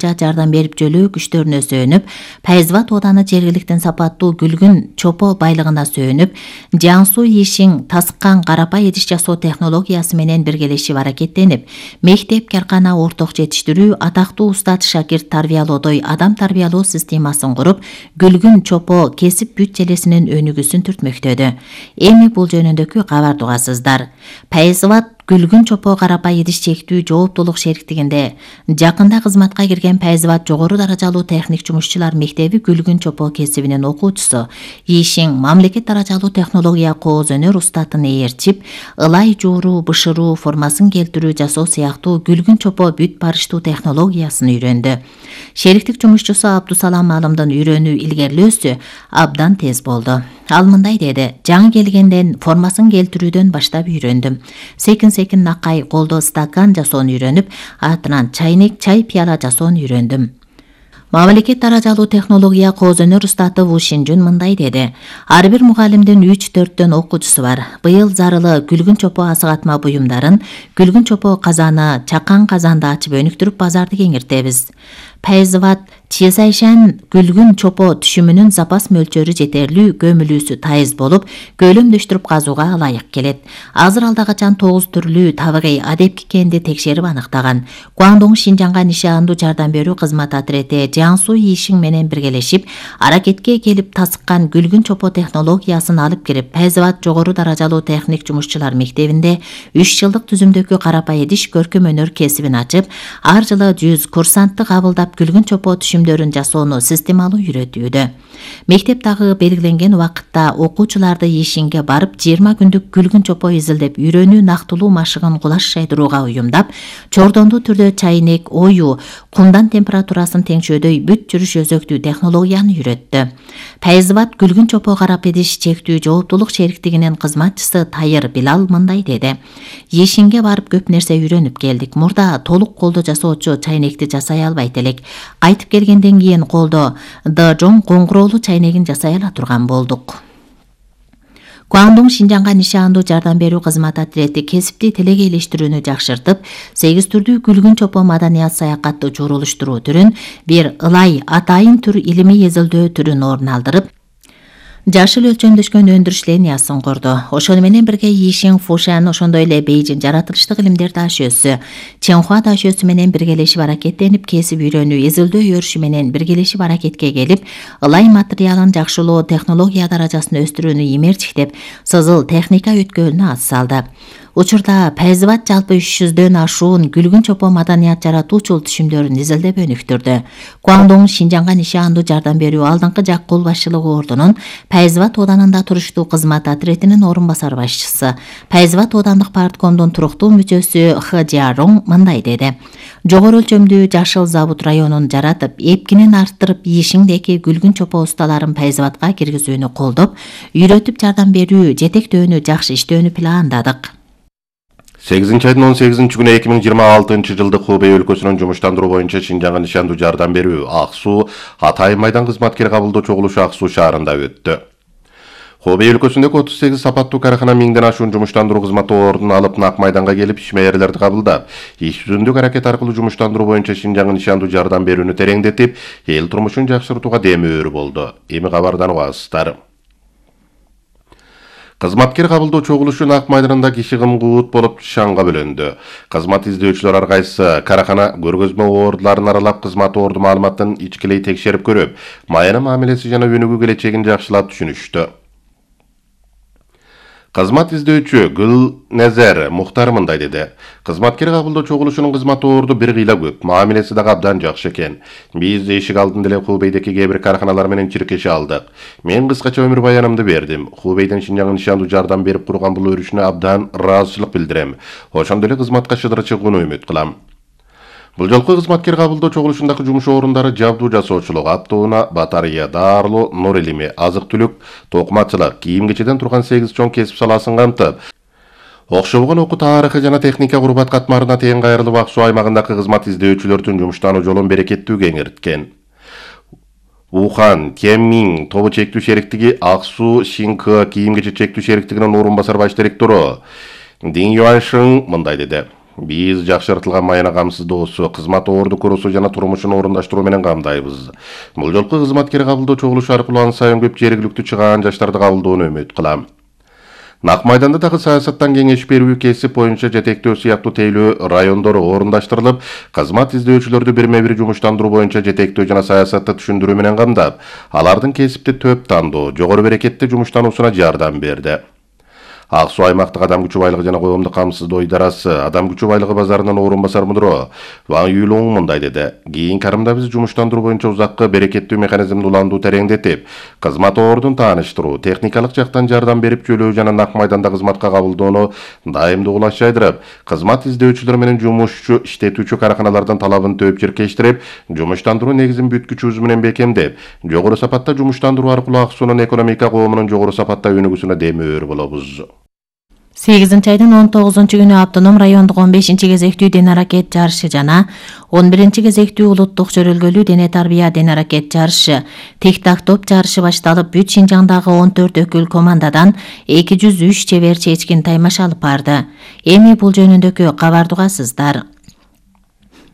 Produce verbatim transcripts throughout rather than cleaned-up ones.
жардам берип жөлөө күчтөрүнө сөөнүп, Пайзыбат ооданы жергиликтин сапаттуу күлгүн чопо байлыгына сөөнүп, Жаңсу Ишин тасыккан карапай идиш жасоо технологиясы менен биргелешип аракеттенип, мектеп, каркана, орток жетиштирүү, атактуу устат шакирт тарбиялоодой адам тарбиялоо системасын куруп, күлгүн чопо кесип бүт желесинин өнүгүүсүн түртмөктөдү. Эми бул жөнүндөгү кабарды угасыздар. Пайзыбат Күлгүн чопо карапай идиш чектүү жооптулук шериктигинде жакында кызматка кирген Пайзыбат жогору даражалуу техник жумушчулар мектеби күлгүн чопо кесибинин окуучусу Ишин мамлекет даражалуу технология кооз өнөр устатын ээрчип, ылай жууруу, бышыруу, формасын келтирүү жасоо сыяктуу күлгүн чопо бүт барыштуу технологиясын үйрөндү. Шериктик жумушчусу Абдусалам Алымдын үйрөнүү илгерилөөсү абдан тез болду. Ал мындай деди: жаңы келгенден формасын келтирүүдөн баштап үйрөндүм. Секин секин накай колдо стакан жасоону үйрөнүп, артынан чайнек, чай пияла жасоону үйрөндүм. Мамлекет даражалуу технология кооз өнөр устаты Ву Шинжун мындай деди: ар бир мугалимдин үч төрттөн окуучусу бар. Быйыл зарылы күлгүн чопо асыгатма буюмдарын, күлгүн чопо казаны, чакан казанды ачып өнүктүрүп базарды кеңиртебиз. Пайзыбат Чесайшан күлгүн чопо түшүмүнүн запас мөлчөрү жетерлүү, көмүлүүсү тайыз болуп, көлөмдөштүрүп казууга ылайык келет. Азыр алда качан тогуз түрлүү табигый адепки кенди текшерип аныктаган. Гуандong Шинжаңга нишандуу жардам берүү кызмат отрети Жаңсу Ишин менен биргелешип, аракетке келип тасыккан күлгүн чопо технологиясын алып кирип, Пайзыбат жогору даражалуу техник жумушчулар мектебинде үч жылдык түзүмдөгү карапай идиш көркөм өнөр кесибин ачып, ар жылы жүз курсантты кабылдап күлгүн чопо түшүмдөрүн жасоону системалуу үйрөтүүдө. Мектеп дагы белгиленген убакытта окуучуларды Ишинге барып, жыйырма күндүк күлгүн чопо изилдеп, үйрөнүү нактылуу машыгын кулаш шайдырууга уюмдап, чордондуу түрдө чайнек, ою, кумдан температурасын теңшөөдөй бүт жүрүш өзөктүү технологияны үйрөттү. Пайзыбат күлгүн чопо карап идиш чектүү жооптулук шериктигинин кызматчысы Тайыр Билал мындай деди: Ишинге барып көп нерсе үйрөнүп келдик. Мурда толук колдо жасоочу чайнекти жасай албайт элек. Кайтып келгенден кийин колдо дажон коңгуроолуу чайнегин жасай ала турган болдук. Гуандong Шинжаңга нишандуу жардам берүү кызмат отрети кесипти телекейлештирүүнү жакшыртып, сегиз түрдүү күлгүн чопо маданият саякатты журулуштуруу түрүн, бир ылай атайын түр илимий эзилдөө түрүн орун алдырып, жашыл өлчөмдөшкөн өндүрүш линиясын курду. Ошону менен бирге Ишин, Фушан, ошондой эле Бейжин жаратылыштык илимдер дашөөсү, Ченхуа дашөөсү менен биргелешип аракеттенип, кесип үйрөнүү, эзилдөө өрүшү менен биргелешип аракетке келип, ылай материалын жакшылоо, технология даражасын өстүрүүнү имертиктеп, сызыл техника өткөлүнө ат салды. Учурда Пайзыбат жалпы үч жүздөн ашуун күлгүн чопо маданият жаратуучул түшүмдөрүн изилдеп өнүктүрдү. Гуандong Шинжаңга нишандуу жардам берүү алдыңкы жак кол башчылыгы ордунун Пайзыбат оданында туруштуу кызмат отретинин орун басар башчысы, Пайзыбат оодандык парткомдун туруктуу мүчөсү Хы Жиарong мындай деди: жогору өлчөмдүү жашыл завод районун жаратып, эпкинин арттырып, Ишиңдеки күлгүн чопо усталарын Пайзыбатка киргизүүнү колдоп, үйрөтүп жардам берүү, жетектөөнү жакшы иштөөнү пландадык. сегизинчи айдын он сегизинчи күнү эки миң жыйырма алтынчы жылдык Хубей өлкөсүнүн жумуштандыруу боюнча Шинжаңга нишандуу жардам берүү Ак Суу Атай майдан кызматкер кабылдоо чогулушу Ак Суу шаарында өттү. Хубей өлкөсүндөгү отуз сегиз сапаттуу карахана миңден ашуун жумуштандыруу кызматы ордун алып, Нак майданга келип, ишмеерлерди кабылдап, иш жүзүндүк аракет аркылуу жумуштандыруу боюнча Шинжаңга нишандуу жардам берүүнү тереңдетип, эл турмушун жакшыртууга демөөр болду. Эми кабардан угасыздар. Кызматкер кабылдоо чогулушу Нак майданында киши кым-куут болуп шаңга бөлөндү. Кызмат издөөчүлөр ар кайсы карахана көргөзмө ордуларын аралап, кызмат орду маалыматын ичкилей текшерип көрүп, майына мамилеси жана өнүгүү келечегин жакшылап түшүнүштү. Кызмат издөөчү Гүлнезер Мухтар мындай деди: кызматкер кабылдоо чогулушунун кызмат орду бир кыйла көп, мамилеси дагы абдан жакшы экен. Биз эшик алдында эле Хубейдеки кээ бир караханалар менен чиркеше алдык. Мен кыскача өмүр баянымды бердим. Хубейден Шинжаңга нишандуу жардам берип курган бул өрүшүнө абдан ыраазычылык билдирем. Ошондой эле кызматка шыдыр чыгууну үмүт кылам. Бул жолку кызматкер кабылдоо чогулушундагы жумуш орундары жабдуу жасоочулук, автоунаа, батарея даарылоо, нур илими, азык-түлүк, токумачылык, кийим-кечеден турган сегиз чоң кесип саласын камтып, окшобогон окуу тарыхы жана техника курбат катмарына тең кайрылып, Ак Суу аймагындагы кызмат издөөчүлөрдүн жумуштануу жолун берекеттүү кеңирткен. Ухан Кеммин тобу чектүү шериктиги Ак Суу Шинкы кийим-кече чектүү шериктигинин орун басар баш директору Дин Юаншин мындай деди: Биз жакшыртылган майына камсыздоосу, кызмат орду курусу жана турмушун орундаштыруу менен камдайбыз. Бул жолку кызматкер кабылдоо чогулушу аркылуу ан сайын көп жергиликтүү чыгаан жаштарды кабылдоону үмүт кылам. Нак майданда дагы саясаттан кеңеш берүү, кесип боюнча жетектөө сыяктуу тейлөө райондору орундаштырылып, кызмат издөөчүлөрдү бирме-бир жумуштандыруу боюнча жетектөө жана саясатты түшүндүрүү менен камдап, алардын кесипти төп тандоо, жогору берекеттүү жумуштануусуна жардам берди. Ак Суу аймактык адам күчү байлыгы жана коомдук камсыздоо идарасы адам күчү байлыгы базарынын орун басар мудуру Ван Юйлоң мындай деди: кийин карымда биз жумуштандыруу боюнча узаккы берекеттүү механизмди уландуу тереңдетип, кызмат ордун тааныштыруу, техникалык жактан жардам берип чөйлөө жана нак майданда кызматка кабылдоону дайымдуу улашчайдырып, кызмат издөөчүлөр менен жумушчу иштетүүчү караканалардын талабын төп чиркештирип, жумуштандыруу негизин бүткүчүбүз менен бекемдеп, жогору сапатта жумуштандыруу аркылуу Ак Суунун экономика коомунун жогору сапатта өнүгүүсүнө демөөр болобуз. сегизинчи айдын он тогузунчу күнү автоном райондук он бешинчи кезектүү дене аракет жарышы жана он биринчи кезектүү улуттук жөрөлгөлүү дене тарбия дене аракет жарышы тик-так топ жарышы башталып, бүт Шинжаңдагы он төрт өкүл командадан эки жүз үч чебер чечкин таймаш алып барды. Эми бул жөнүндөгү кабарды угасыздар.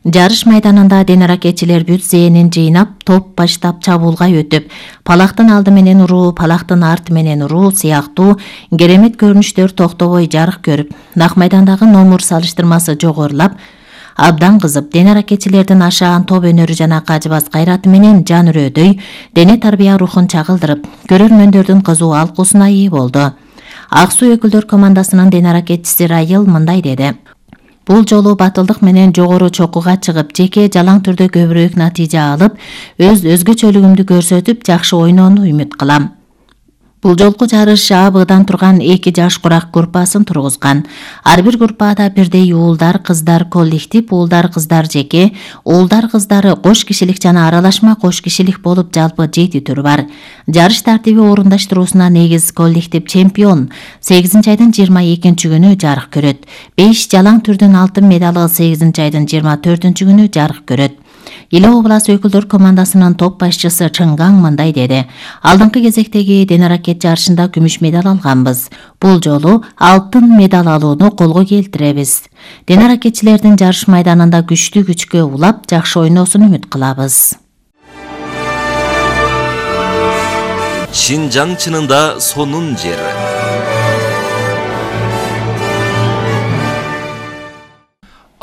Жарыш майданында дене аракетчилер бүт зээнин жыйнап, топ баштап чабуулга өтүп, палактын алды менен уруу, палактын арты менен уруу сыяктуу керемет көрүнүштөр токтобой жарык көрүп, нак майдандагы номур салыштырмасы жогорулап, абдан кызып, дене аракетчилердин ашаан топ өнөрү жана кажыбас кайраты менен жан үрөөдөй дене тарбия рухун чагылдырып, көрөрмөндөрдүн кызуу алкуусуна ээ болду. Ак Суу өкүлдөр командасынын дене аракетчиси Райыл мындай деди: бул жолу батылдык менен жогору чокуга чыгып, жеке жалаң түрдө көбүрөөк натыйжа алып, өз өзгөчөлүгүмдү көрсөтүп, жакшы ойноону үмүт кылам. Бул жолку жарыш А Б'дан турган эки жаш курак группасын тургузган. Ар бир группада бирдей уулдар, кыздар коллектив, уулдар, кыздар жеке, уулдар, кыздары кош кишилик жана аралашма кош кишилик болуп жалпы жети түр бар. Жарыш тартиби орундаштыруусуна негиз коллектив чемпион сегизинчи айдын жыйырма экинчи күнү жарык көрөт. беш жалаң түрдүн алтын медалы сегизинчи айдын жыйырма төртүнчү күнү жарык көрөт. Иле областы өкүлдөр командасынын топ башчысы Чыңгаң мындай деди: алдыңкы кезектеги дене аракет жарышында күмүш медаль алганбыз. Бул жолу алтын медаль алууну колго келтиребиз. Дене аракетчилердин жарыш майданында күчтүү күчкө улап, жакшы ойноосун үмүт кылабыз. Шинжаң чынында сонун жери.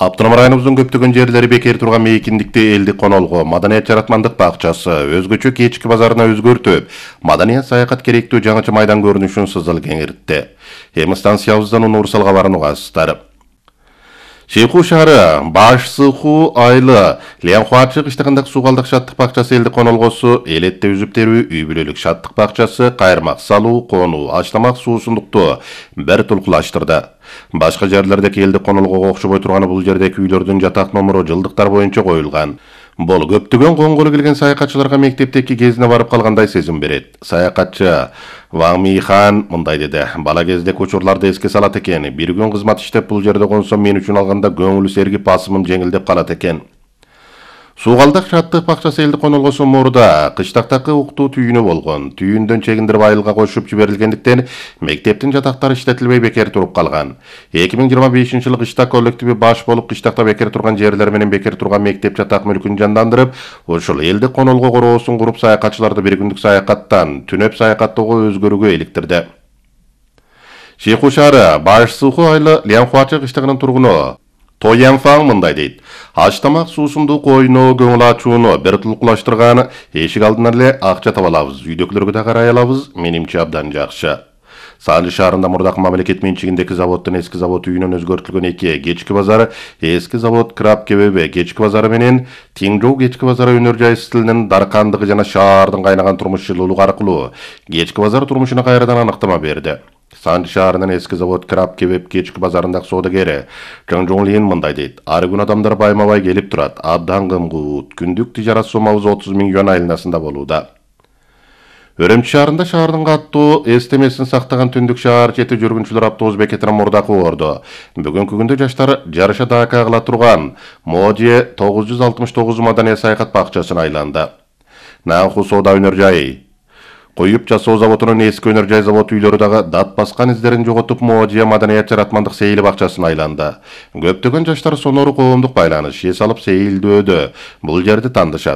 Автоном районубуздун көптөгөн жерлери бекер турган мейкиндикти элдик конолго, маданият жаратмандык бакчасы өзгөчө кечки базарына өзгөртүп, маданият саякат керектүү жаңыча майдан көрүнүшүн сызыл кеңиртти. Эми станциябыздан универсал кабарын угасыздар. Шейху шаары Баш Сыху айлы Лянхуачы кыштыгындагы суугалдык шаттык бакчасы элдик конолгосу, элетте үзүп терүү үй бүлөлүк шаттык бакчасы, кайырмак салуу, конуу, ачламак суусундукту бир тулкулаштырды. Башка жерлердеги элдик конолгого окшобой турганы бул жердеги үйлөрдүн жатак номуру жылдыктар боюнча коюлган. Бул көптөгөн коңголу келген саякатчыларга мектептеки кезине барып калгандай сезим берет. Саякатчы Ван Михан мындай деди: бала кезде учурларды эске салат экен. Бир күн кызмат иштеп бул жерде консом мен үчүн алганда көңүл сергип басымым жеңилдеп калат экен. Суугалдык шаттык бакчасы элдик конолгосу мурда кыштактагы уктуу түйүнү болгон. Түйүндөн чегиндирип айылга кошуп жиберилгендиктен мектептин жатактары иштетилбей бекер туруп калган. эки миң жыйырма бешинчи жылы кыштак коллективи баш болуп кыштакта бекер турган жерлер менен бекер турган мектеп жатак мүлкүн жандандырып, ушул элдик конолго короосун куруп саякатчыларды бир күндүк саякаттан түнөп саякаттоого өзгөрүүгө иликтирди. Шейху шаары Баш Сыху айлы Лянхуачы кыштыгынын тургуну Тоянфаң мындай дейт: аштамак суусундук ойноо көңүл ачууну бир тулкулаштырган, эшик алдынан эле акча таба алабыз, үйдөгүлөргө да карай алабыз, менимче абдан жакшы. Санжы шаарында мурдакы мамлекет менчигиндеги заводдун эски завод үйүнөн өзгөртүлгөн эки кечки базары, эски завод Краб Кебебе кечки базары менен Тиңжоу кечки базары өнөр жай стилинин даркандыгы жана шаардын кайнаган турмуш жылуулугу аркылуу кечки базар турмушуна кайрадан аныктама берди. Санжы шаарынын эски завод Краб Кебеп кечки базарындагы соодагери Чыңжоңлин мындай дейт: ар күн адамдар байма-бай келип турат, абдан кымгуут, күндүк тижарат сомабыз отуз миң юан айланасында болууда. Өрөмчү шаарында шаардын каттуу эстемесин сактаган түндүк шаар чети жүргүнчүлөр автобус бекетинин мурдакы орду. Бүгүнкү күндө жаштар жарыша дака кыла турган Може тогуз жүз алтымыш тогуз маданият саякат бакчасын айланды. Нанху соода өнөр жайы Коюп жасоо заводунун эски өнөр жай завод үйлөрү дагы дат баскан издерин жоготуп, можия маданият жаратмандык сейил бакчасына айланды. Көптөгөн жаштар сонору коомдук байланыш эс алып сейилдөөдө бул жерди тандышат.